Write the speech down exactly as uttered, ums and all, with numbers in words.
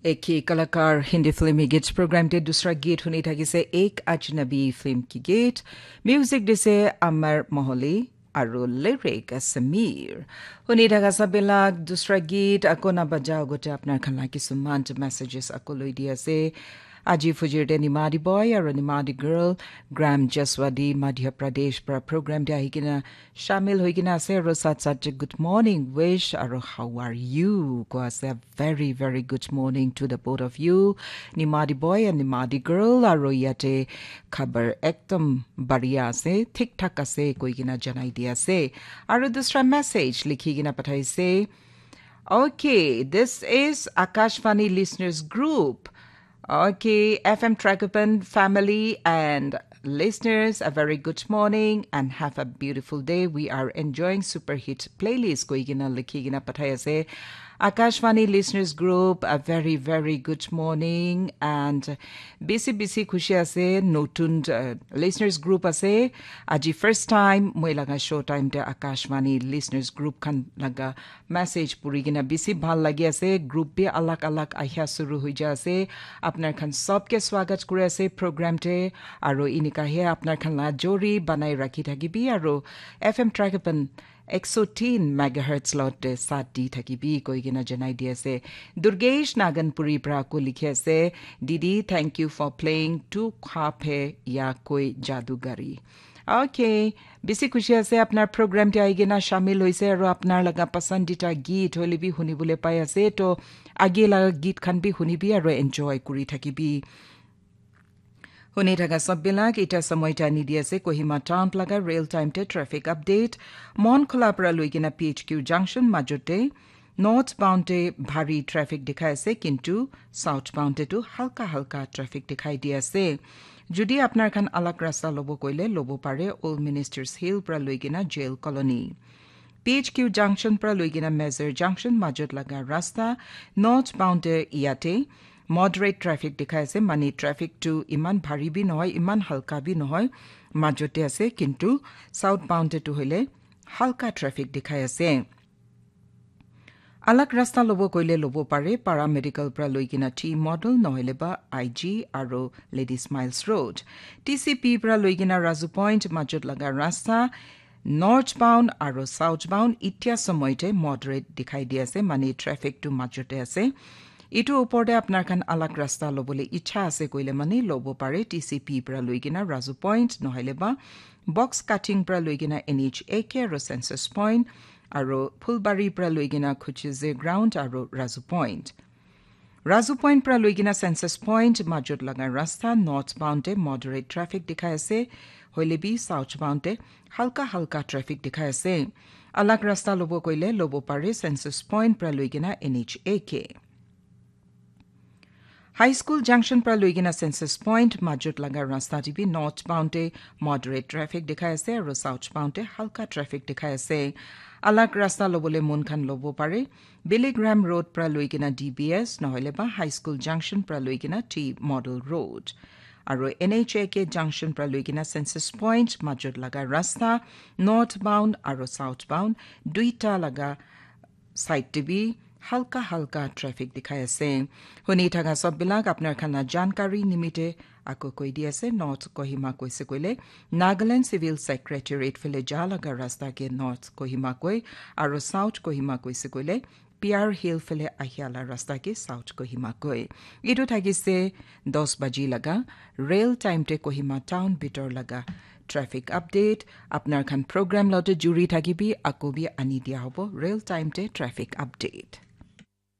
Ek hi kalakar Hindi film hi git program te dusra git huni thakise Ek Ajnabi film ki git. Music dise Amar Moholi aru lyric Samir. Huni thaka sabela dusra git ako na baja gote apnar khan la kisuman messages ako loi di ase. Aji fujir te Nimadi boy aru Nimadi girl Gram Jaswadi Madhya Pradesh pra program te ahikena shamil hoikena ase aru sat sat te good morning wish aru how are you ko ase. Very very good morning to the both of you, Nimadi boy and Nimadi girl. Aru yate khabar ekdom baria ase, thik thak ase koikena janai di ase. Aru dusra message likhi kena pathaise. Okay, this is Akashvani listeners group. Okay, F M Trakapan family and listeners, a very good morning and have a beautiful day. We are enjoying super hit playlist. Koi kena likhi kena pathai ase. Akashvani listeners group, a very very good morning and bisi bisi khushi ase. Notun uh, listeners group ase. Aji first time moi laga show time te Akashvani listeners group khan laga message puri kena bisi bhal lagi ase. Group bi alag alag ahia suru hoi ja ase. Apnar khan sob ke swagat kuri ase program te. Aro inika he apnar khan la jori banai rakhi thakibi aro F M Trakapan ek so tin megahertz lot te sat di thakibi koi kena janai di ase. Durgesh Naganpuri pra ko likhi ase, Didi, thank you for playing Tu Khwab Hai Ya Koi Jadugari. Okay, bisi khushi ase apnar program te aigena shamil hoise aru apnar laga pasandita git hoile bi hunibole pai ase. To age laga git khan bi hunibi aru enjoy kuri thakibi. Huni thaka sab bilak ita samoi ta ni di ase Kohima town laga real time te traffic update. Mon Khola pra lui kena P H Q junction majot te north bound te bhari traffic dikhai ase, kintu south bound te tu halka halka traffic dikhai di ase. Jodi apnar khan alag rasta lobo koile lobo pare Old Ministers Hill pra lui kena Jail Colony. P H Q junction pra lui kena Mezar junction majot laga rasta north bound te yate moderate traffic dikhai ase, mane traffic tu iman bhari bi nohoi, iman halka bi nohoi, majot te ase, kintu south bound te tu hoile halka traffic dikhai ase. Alag rasta lobo koile lobo pare, paramedical pra lui kena T model nohoile ba I G aro Ladies Miles Road. T C P pra lui kena Razu Point majot laga rasta north bound aro south bound itia samoi te moderate dikhai di ase, mane traffic tu majot te ase. Itu upor te apnar khan alag rasta lobole icha ase koile mane lobo pare T C P pra lui kena Razu Point nohoile ba box cutting pra lui kena N H A K aro census point aro Phulbari pra lui kena Khuchize ground aro Razu Point. Razu Point pra lui kena census point majot laga rasta north bound te moderate traffic dikhai ase, hoile bi south bound te halka halka traffic dikhai ase. Alag rasta lobo koile lobo pare census point pra lui kena N H A K. High School Junction pra lui kena Census Point majot laga rasta te bi north bound te moderate traffic dikhai ase aro south bound te halka traffic dikhai ase. Alag rasta lobole mon khan lobo pare. Billy Graham Road pra lui kena D B S nohoile ba High School Junction pra lui kena T Model Road. Aro N H A K Junction pra lui kena Census Point majot laga rasta north bound aro south bound duita laga side te bi halka halka traffic dikhai ase. Huni thaka sob bilak apnar khan la jankari nimite ako koi di ase, North Kohima koise koile Nagaland Civil Secretariat phale ja laga rasta ke North Kohima koi, aro South Kohima koise koile P R Hill phale ahia la rasta ke South Kohima koi. Itu thakise dos baji laga real time te Kohima town bitor laga traffic update. Apnar khan program lote juri thakibi, ako bi ani dia hobo real time te traffic update.